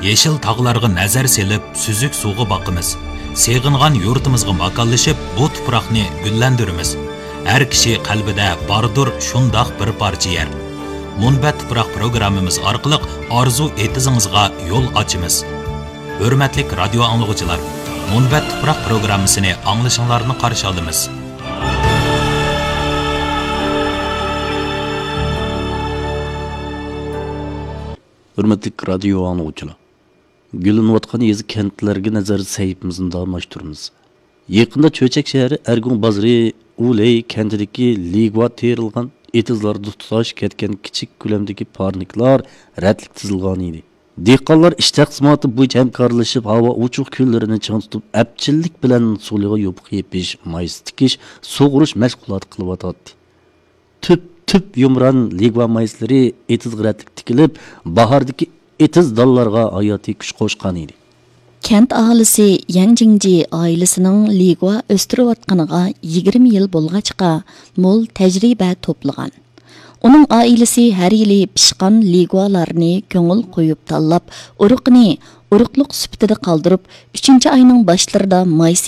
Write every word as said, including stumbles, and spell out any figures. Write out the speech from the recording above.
يېشىل تاغلارغا نەزەر سېلىپ، سۈزۈك سۇغا باقىمىز. سېغىنغان يۇرتىمىزغا ماكانلىشىپ، بۇ تۇپراقنى گۈللەندۈرىمىز. ھەر كىشى قەلبىدە باردۇر شۇنداق بىر پارچە يەر. مۇنبەت تۇپراق پروگراممىمىز ئارقىلىق ئارزۇ ئېتىزىڭىزغا يول ئاچىمىز. ھۆرمەتلىك رادىيو ئاڭلىغۇچىلار، مۇنبەت تۇپراق پروگراممىسىنى ئاڭلىشىڭلارنى قارشى ئالىمىز. ھۆرمەتلىك رادىيو ئاڭلىغۇچىلار، گۈللىنىۋاتقان يېزا، كەنتلەرگە نەزەر سەھىپىمىزنى داۋاملاشتۇرىمىز. يېقىندا چۆچەك شەھىرى ئەرگۇڭ بازىرى ئۇلەي كەنتىدىكى لىگۇا تېرىلغان ئېتىزلاردا تۇتاش كەتكەن كىچىك كۆلەمدىكى پارنىكلار رەتلىك تىزىلغان ئىدى. دېھقانلار ئىش تەقسىماتى بويىچە ھەمكارلىشىپ، ھاۋا ئوچۇق كۈنلىرىنى چىڭ تۇتۇپ، ئەپچىللىك بىلەن سۇلىغا يوپۇق يېپىش، مايسا تىكىش، سۇغۇرۇش مەشغۇلاتى قىلىۋاتاتتى. تۈپ، تۈپ يۇمران لىگۇا مايسىلىرى ئېتىزغا رەتلىك تىكىلىپ، باھاردىكى ئېتىز دالىلارغا ھاياتىي كۈچ قوشقان ئىدى. كەنت ئاھالىسى يەڭ جىڭجى ئائىلىسىنىڭ لىگۇا ئۆستۈرۈۋاتقىنىغا يىگىرمە يىل بولغاچقا، مول تەجرىبە توپلىغان. ئۇنىڭ ئائىلىسى ھەر يىلى پىشقان لىگۇالارنى كۆڭۈل قويۇپ تاللاپ، ئۇرۇقىنى ئۇرۇقلۇق سۈپىتىدە قالدۇرۇپ، ئۈچىنچى ئاينىڭ باشلىرىدا مايسا